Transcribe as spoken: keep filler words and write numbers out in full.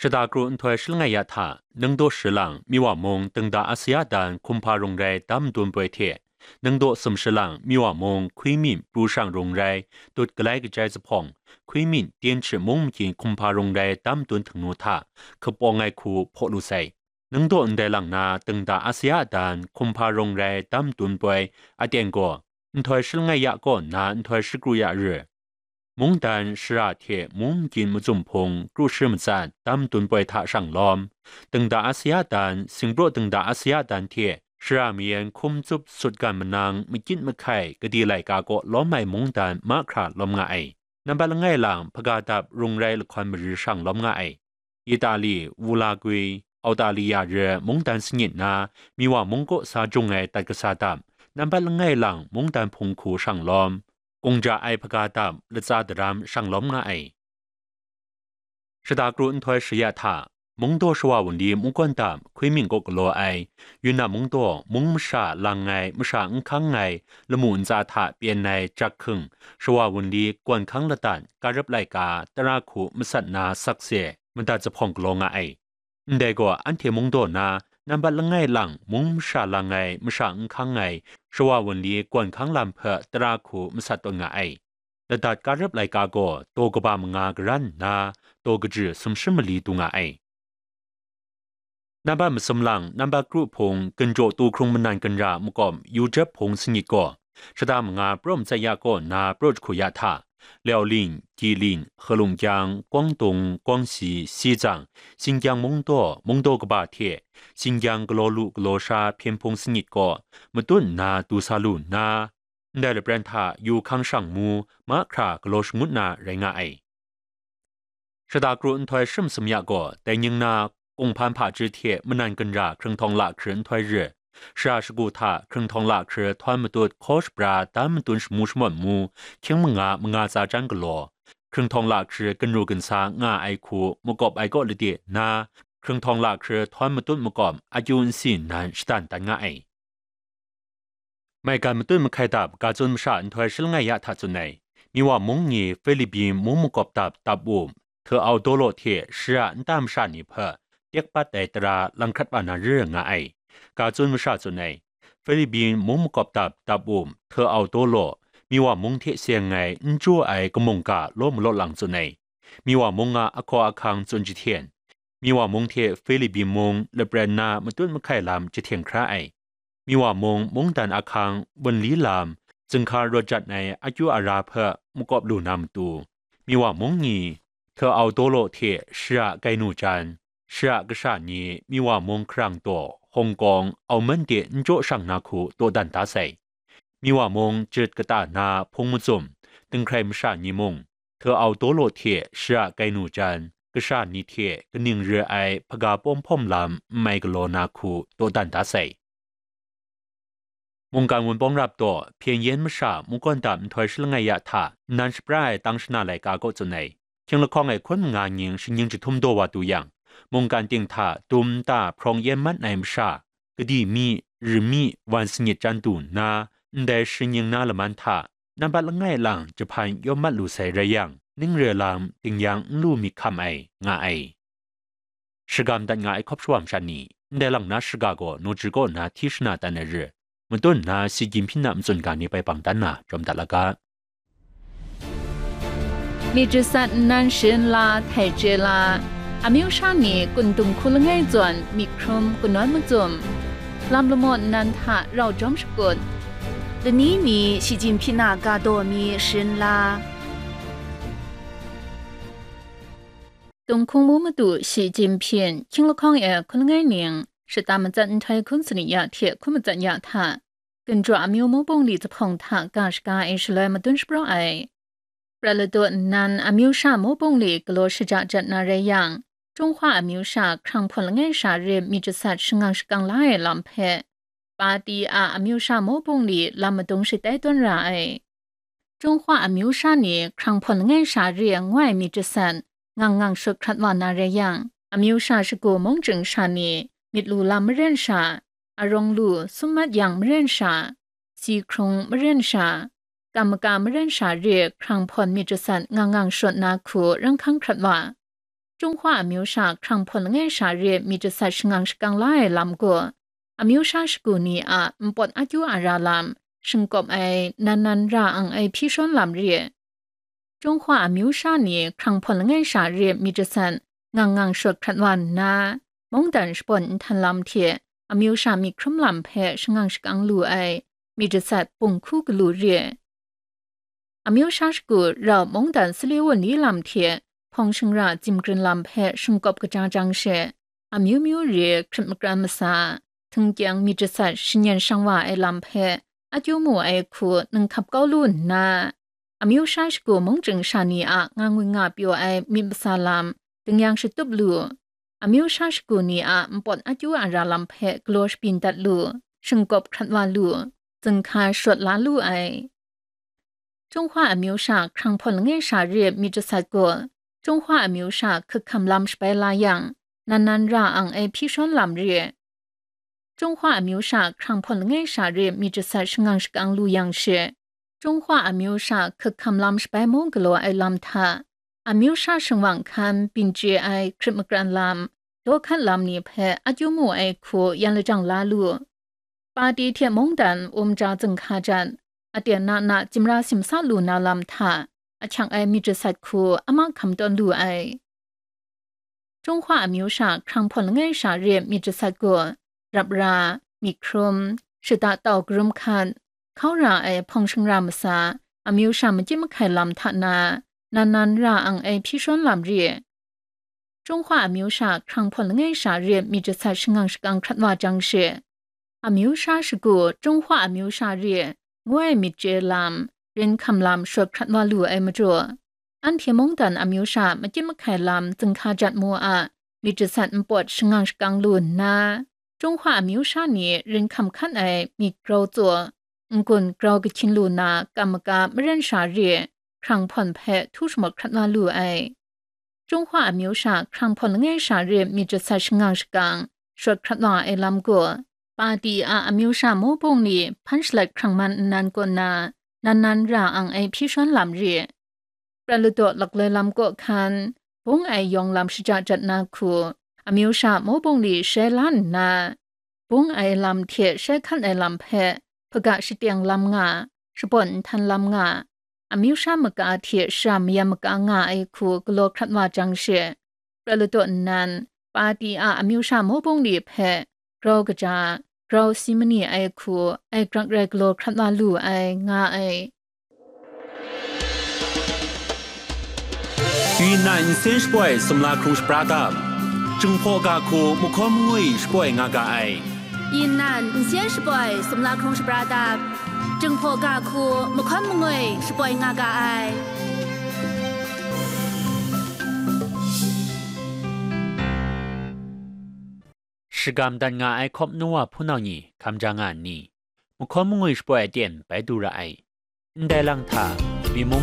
Shata kru nhtoi shi langai ya hta, Ningdaw shi lang Miwa mung Dingda Asia dan hkumhpa rung rai dam madun poi hte, Ningdaw sum shi lang Miwa mung Hkui Min pru shang rung rai dut galai kajai zuphpawng, Hkui Min Tyen Hkrit mung makin hkumhpa rung rai dam madun htingnu hta hkapawng ai hku hpaw lu sai. Ningdaw ndai lang na Dingda Asia dan hkumhpa rung rai dam madun poi aten gaw, nhtoi shi langai ya kaw nna nhtoi shi kru ya ri, mungdan shara hte mung makin mazum hpung kru shi matsat dam madun poi hta shang lawm, Dingda Asia dan, Singpraw Dingda Asia dan hte shara mayan hkum tsup sut gan manang makyit mahkai gade laika kaw lawm ai mungdan mahkra lawm nga ai. Nambat langai lang hpaga dap rung rai lahkawn mari shang lawm nga ai. Itali, Wulagwi, Autaliya re mungdan sangit na Miwa mung kaw sa jung ai dat kasa dap, nambat langai lang mungdan hpung hku shang lawm, kungja ai hpaga dap latsa daram shang lawm nga ai. Shata kru nhtoi shi ya hta, Mungdaw shawa wunli mungkawn dap Hkui Min kaw galaw ai, Yunnan Mungdaw mung masha lang ai masha n hkang ai lamu ntsa hta pyen ai jak hking shawa wunli gawn hkang ladat karap laika tara hku masat na sakse madat zuphpawng galaw nga ai. Ndai gaw anhte Mungdaw na nambat langai lang mung masha lang ai masha n hkang ai shawa wunli gawn hkang lam hpe tara hku masat tawn nga ai. Ladat karap laika gaw daw kaba manga karan nna, daw kaji sumshi mali du nga ai. Nambat masum lang, nambat kru hpung, ginjaw tu hkrung manan ginra makawp, yu jep hpung sangit gaw, shata manga praw matsat ya kaw nna praw jahku ya hta, Liaoling, Guilin, Helungkyang, Guangdong, Guangxi, Xizang, Xinjiang Mungdaw, Mungdaw kaba hte, Xinjiang galaw lu galaw sha hpyen hpung sangit gaw, matut nna du sa lu nna, ndai lapran hta yu hkang shang mu, mahkra galaw shangut na rai nga ai. Shata kru nhtoi shi masum ya gaw, dai ning na kunghpan hpaji hte manan ginra hkrung htawng lahkri nhtoi ri, shara shagu hta hkrung htawng lahkri htawn matut hkaw shabra dan madun shamu shamawt mu, hkying manga manga tsa jan galaw, hkrung htawng lahkri ginru ginsa nga ai hku makawp ai kaw lade nna, hkrung htawng lahkri htawn matut makawp akyu nsi nnan shadan dan nga ai. Maigan matut mahkai dap ga tsun masha nhtoi shi langai ya hta tsun ai. Miwa mung ni Philippin mung makawp dap dap up, Teaudolo hte shara nta masha ni hpe tek pat ai tara lang hkrat wa na ri nga ai. Ga tsun masha tsun ai. Philippin mung makawp dap dap up, Teaudolo, Miwa mung hte seng ai n chyu ai kamung ga law malaw lang tsun ai. Miwa mung a ahkaw ahkang tsun jahten, Miwa mung hte Philippin mung lapran na matut mahkai lam jahten hkra ai. Miwa mung mungdan ahkang, wunli lam, zinghka rawt jat ai akyu ara hpe makawp lu na matu, Miwa mung ni Teaudolo hte shara Gainu jan, shara kasha ni Miwa mung hkarang daw, Hong Kong, Auman de n jaw shang na hku dawdan da sai. Miwa mung jit kata na hpung mazum, dinghkrai masha ni mung, Teaudolo hte shara Gainu jan, kasha ni hte kaning re ai hpaga pawm hpawm lam n mai galaw na hku dawdan da sai. Mungkan wunpawng rap daw, Hpyen Yen masha mungkawn dap nhtoi shi langai ya hta nnan shapra ai tang shana laika kaw tsun ai. Hkying lahkawng e hkun manga nying shingnying jahtum daw wa du yang, mungkan ting hta dum nta hprawng yen mat ai masha, kadi mi, ri mi, wan sangit chyan du nna, ndai shingnying na laman hta nampat langai lang jahpan yawm mat lu sai rai yang, ning re lam dingyang n lu myit hkam ai, nga ai. Shagam dat nga ai hkawp shawa masha ni, ndai lang na shaga gaw Naw Ji kaw na hti shana dan ai re, matun nna Shi Jinhping a matsun ga ni bai bang dan na jawm dat la ga. Myit jasat nnan sharin la, htai chye la, amyu sha ni kun dung hku langai zawn myit hkrum kanawn mazum, lam lamaw nnan hta rau jawm shakut, lani mi Shi Jinhping a ga daw mi sharin la. Tunghkung mu madu Shi Jinhping, hkying lahkawng e hkun langai ning, shata matsat nhtoi hkun sani ya hte hkun matsat ya hta, Ginjaw amyu mawbung li jahpawng hta ga shaga e shaloi madun shapraw ai. Prat ladaw nnan amyu sha mawbung li galaw shaja jat na rai yang, Chunghwa amyu sha hkrang hpawn langai sha re myit jasat shangang shakang la ai lam hpe, pati a amyu sha mawbung li lam madung shatai tawn ra ai. Chunghwa amyu sha ni hkrang hpawn langai sha re ngoi myit jasat ngang ngang shut hkrat wa na rai yang, amyu sha shagu mung chying sha ni myit lu lam maren sha, arawng lu sum mat yang maren sha, si hkrung maren sha, kam maka maren sha re hkrang hpawn myit jasat ngang ngang shut na hku rang hkang hkrat wa. Chyung Hwa amyu sha hkrang hpawn langai sha re myit jasat shangang shakang la ai lam gaw, amyu sha shagu ni a npawt akyu ara lam, shingkawp ai, nan nan ra ang ai hpyi shawn lam re. Chyung Hwa amyu sha ni hkrang hpawn langai sha re myit jasat ngang ngang shawt hkrat wa nna, mungdan shabawn nhtan lam hte amyu sha myit hkrum lam hpe shangang shakang lu ai myit jasat bung hku galu re. Amyu sha shagu rau mungdan sali wunli lam hte hpawng shingra zimgrin lam hpe shingkawp kaja jang she, amyu myu re hkrit makran masa, htingkyang myit jasat shanyan shang wa ai lam hpe akyu mu ai hku ninghkap kau lu nna, amyu sha shagu mung chying sha ni a nga ngwi nga pyaw ai myit masa lam dingyang shatup lu, amyu sha shagu ni a npawt akyu ara lam hpe galaw shabyin dat lu, shingkawp hkrat wa lu, zinghka shawt la lu ai. Chyung Hwa amyu sha hkrang hpawn langai sha re myit jasat gaw, Chyung Hwa amyu sha hkak hkam lam shabai la yang, nan nan ra ang ai hpyi shawn lam re. Chyung Hwa amyu sha hkrang hpawn langai sha re myit jasat shangang shakang lu yang she, Chyung Hwa amyu sha hkak hkam lam shabai mung galaw ai lam hta, amyu sha shingwang hkan byin chye ai hkrit makran lam, dawhkat lam ni hpe akyu mu ai hku yan lajang la lu. Pati hte mungdan um ja zinghka jan, aten na na jimra simsa lu na lam hta, ahkyang ai myit jasat hku a mahkam tawn lu ai. Chyung Hwa amyu sha hkrang hpawn langai sha re myit jasat gaw, rap ra, myit hkrum, shata tau karum hkat, hkau ra ai hpawng shingra masa, amyu sha makyit mahkai lam hta na, nan nan ra ang ai hpyi shawn lam re. Chyung Hwa amyu sha hkrang hpawn langai sha re myit jasat shangang shakang hkrat wa jang she, amyu sha shagu Chyung Hwa amyu sha re ngu ai myit chye lam, rin hkam lam shawt hkrat wa lu ai majaw, anhte mungdan amyu sha makyit mahkai lam zinghka jat mu a myit jasat npawt shangang shakang lu nna, Chyung Hwa amyu sha ni rin hkam hkan ai myit grau tsaw, n-gun grau kahkyin lu na kam maka maren sha re hkrang hpawn hpe htu shamawt hkrat wa lu ai. Chyung Hwa amyu sha hkrang hpawn langai sha re myit jasat shangang shakang shawt hkrat wa ai lam gaw, Pati a amyu sha mawbung ni hpan shalat hkrang man nnan kaw na, nan nan ra ang ai hpyi shawn lam re. Prat ladaw lakloi lam kaw hkan, bung ai yawng lam shaja jat na hku, amyu sha mawbung ni shai la nna, bung ai lam hte shai hkan ai lam hpe hpaga shateng lam nga, shabawn nhtan lam nga, amyu sha maka hte shara mayam maka nga ai hku galaw hkrat wa jang she, prat ladaw nnan, Pati a amyu sha mawbung ni hpe grau kaja, grau si ma ni ai hku ai grak rai galaw hkrat wa lu ai, nga ai. Yunnan nsen shapoi sumla hkrung shapra dap, Jinghpaw ga hku mahkawn mangwi shapoi nga ga ai. Yunnan nsen shapoi sumla hkrung shapra dap, Jinghpaw ga hku mahkawn mangwi shapoi nga ga ai. Shagam dat nga ai hkawp nu wa hpunau ni hkam ja nga nni, mahkawn mangwi shapoi aten bai du ra ai. Ndai lang hta, myi mung